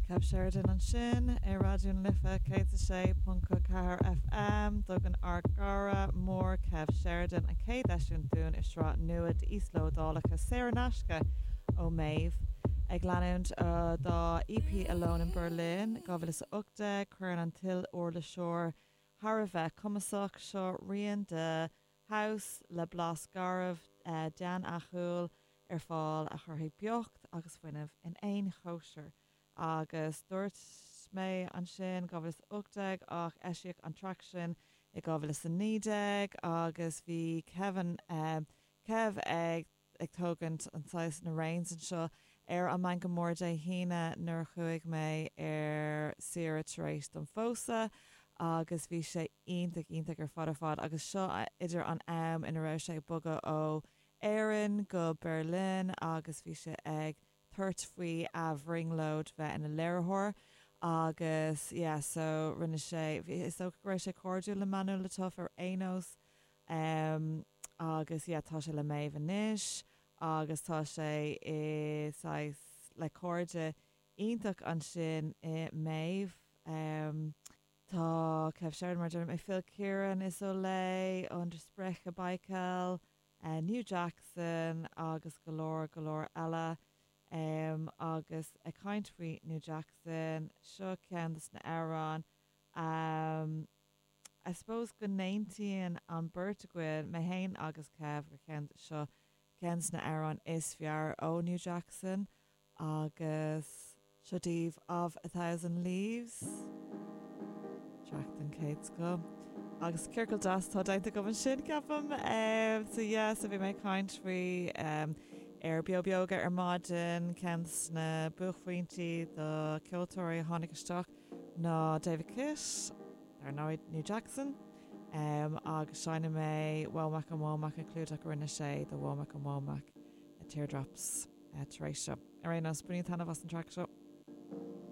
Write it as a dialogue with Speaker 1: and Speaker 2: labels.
Speaker 1: Kev Sheridan ansin ar Raidió na Life 106.4 FM. Tugann ár gcara mór Kev Sheridan an chéad eisiúint dúinn i sraith nua d'íoslódálacha saor in aisce ó Méabh. Ag leanúint dá EP Alone in Berlin 2018, cuireann an t-il-uirliseoir thar a bheith cumasach seo rian de house le blas garbh deannachúil ar fáil a chuirfidh beocht agus fuinneamh in aon chóisir. Agus dúirt mé ansin 2018 ach eisíodh an traic sin i 2019 agus bhí Kevin, Kev ag ag tógaint an saghas na reins anseo ar an Meangadh Mór Dé hAoine nuair a chuaigh mé ar saoire tar éis dom phósadh agus bhí sé iontach iontach ar fad ar fad agus seo idir an am ina raibh sé ag bogadh ó Éirinn go Berlin agus bhí sé ag tabhairt faoi a bhrionglóid bheith ina léiritheoir agus yeah so rinne sé bhí is dócha go raibh sé cairdiúil le Manuel Le Tough ar aon nós em agus yeah tá sé le Méabh anois agus tá sé i saghas le cairde iontach ansin i Méabh em tá Kev Sheridan mar a deirim Phil Kieran is Olay und Sprecher Baikal New Jackson agus go leor go leor eile. Em agus ag caint faoi New Jackson, seo ceann des na amhráin em I suppose go n-aontaíonn an beirt againn, mé fhéin agus Kev, gur ceann seo ceann des na amhráin is fearr ó New Jackson agus seo daoibh Of a Thousand Leaves, traic den chéad scoth. Agus ciorcal deas atá déanta agam ansin, ceapaim. So yeah, so bhí mé ag caint faoi ar Beo Beoga ar maidin, ceann des na buaicphointí do ceoltóirí a tháinig isteach ná David Kitt, dar ndóigh New Jackson, agus seinnfidh mé Womack and Womack, an clúdach a rinne sé do Womack and Womack, Teardrops. tar éis seo. Ar aon nós, bainígí taitneamh as an traic seo.